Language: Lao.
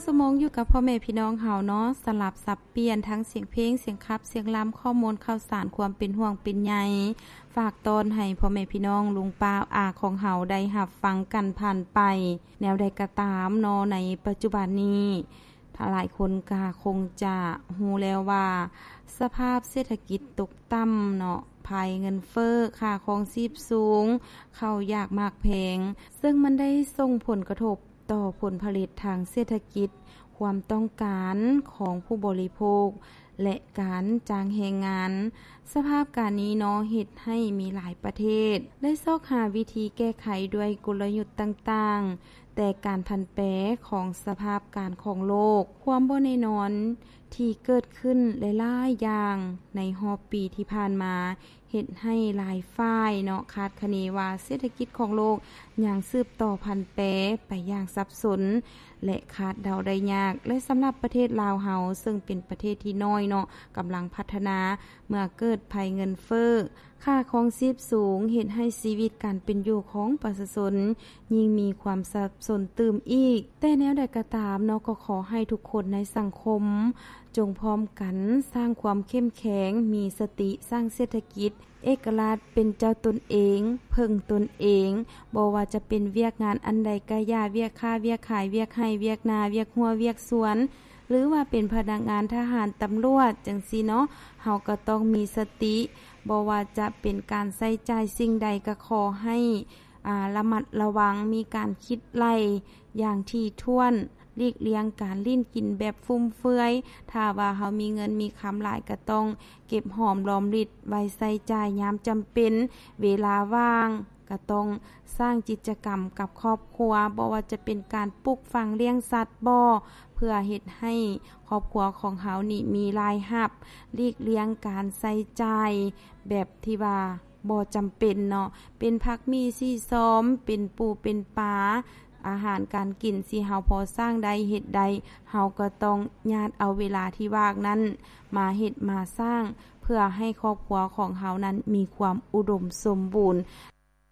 ຊົ່ວໂມງຢູ່ກັບພໍ່ແມ່ພີ່ນ້ອງເຮົາເນາະ ສະຫຼັບສັບປ່ຽນທັງສຽງເພງ, ສຽງຂັບ, ສຽງລຳ, ຂໍ້ມູນຂ່າວສານ, ຄວາມເປັນຫ່ວງເປັນໃຍ ຝາກຕ້ອນໃຫ້ພໍ່ແມ່ພີ່ນ້ອງ ລຸງປ້າອາຂອງເຮົາໄດ້ຮັບຟັງກັນຜ່ານໄປ. ແນວໃດກໍຕາມເນາະ ໃນປັດຈຸບັນນີ້ ຫຼາຍຄົນກໍຄົງຈະຮູ້ແລ້ວວ່າ ສະພາບເສດຖະກິດຕົກຕ່ຳເນາະ, ໄພເງິນເຟີ້, ຄ່າຄອງຊີບສູງ, ເຂົ້າຍາກໝາກແພງ, ເຊິ່ງມັນໄດ້ສົ່ງຜົນກະທົບຕໍ່ຜົນຜະລິດທາງເສດຖະກິດ, ຄວາມຕ້ອງການຂອງຜູ້ບໍລິໂພກ ແລະ ການຈ້າງແຮງງານ. ສະພາບການນີ້ເນາະ ເຮັດໃຫ້ມີຫຼາຍປະເທດໄດ້ຊອກຫາວິທີແກ້ໄຂດ້ວຍກົນລະຍຸດຕ່າງໆ, ແຕ່ການຜັນແປຂອງສະພາບການຂອງໂລກ, ຄວາມບໍ່ແນ່ນອນທີ່ເກີດຂຶ້ນຫຼາຍໆຢ່າງໃນຮອບປີທີ່ຜ່ານມາ ເຮັດໃຫ້ຫຼາຍຝ່າຍເນາະ ຄາດຄະເນວ່າເສດຖະກິດຂອງໂລກຍັງສືບຕໍ່ຜັນແປໄປຢ່າງສັບສົນ ແລະ ຄາດເດົາໄດ້ຍາກ. ແລະ ສຳລັບປະເທດລາວເຮົາ ເຊິ່ງເປັນປະເທດທີ່ນ້ອຍເນາະ ກຳລັງພັດທະນາ, ເມື່ອເກີດໄພເງິນເຟີ້, ຄ່າຄອງຊີບສູງ ເຮັດໃຫ້ຊີວິດການເປັນຢູ່ຂອງປະຊາຊົນຍິ່ງມີຄວາມສັບສົນຕື່ມອີກ. ແຕ່ແນວໃດກໍຕາມເນາະ ກໍຂໍໃຫ້ທຸກຄົນໃນສັງຄົມ ຈົ່ງພ້ອມກັນສ້າງຄວາມເຂັ້ມແຂງ, ມີສະຕິ, ສ້າງເສດຖະກິດເອກະລາດ, ເປັນເຈົ້າຕົນເອງ, ເພິ່ງຕົນເອງ, ບໍ່ວ່າຈະເປັນວຽກງານອັນໃດກະຢ່າ, ວຽກຄ້າວຽກຂາຍ, ວຽກໄຮ່ວຽກນາ, ວຽກຮົ້ວວຽກສວນ, ຫຼືວ່າເປັນພະນັກງານທະຫານ, ຕຳຫຼວດ ຈັ່ງຊີ້ເນາະ, ເຮົາກໍຕ້ອງມີສະຕິ. ບໍ່ວ່າຈະເປັນການໃຊ້ຈ່າຍສິ່ງໃດ ກໍຂໍໃຫ້ ອາ ລະມັດລະວັງ, ມີການຄິດໄລ່ຢ່າງຖີ່ຖ້ວນ, ຫຼີກລ່ຽງການຫຼິ້ນກິນແບບຟຸມເຟືອຍ. ຖ້າວ່າເຮົາມີເງິນມີຄຳຫຼາຍ ກໍຕ້ອງເກັບຫອມລອມລິດໄວ້ໃຊ້ຈ່າຍຍາມຈຳເປັນ. ເວລາວ່າງກໍຕ້ອງສ້າງກິດຈະກຳກັບຄອບຄົວ, ບໍ່ວ່າຈະເປັນການປູກຝັງ, ລ້ຽງສັດບໍ ເພື່ອເຮັດໃຫ້ຄອບຄົວຂອງເຮົານີ້ມີລາຍຮັບ, ຫຼີກລ່ຽງການໃຊ້ຈ່າຍແບບທີ່ວ່າ ບໍ່ຈຳເປັນເນາະ, ເປັນຜັກໝີ່ສີຊອມ, ເປັນປູເປັນປາ, ອາຫານການກິນທີ່ເຮົາພໍສ້າງໄດ້ເຮັດໄດ້, ເຮົາກໍຕ້ອງຍາດເອົາເວລາທີ່ວ່າງນັ້ນມາເຮັດມາສ້າງ ເພື່ອໃຫ້ຄອບຄົວຂອງເຮົານັ້ນມີຄວາມອຸດົມສົມບູນ.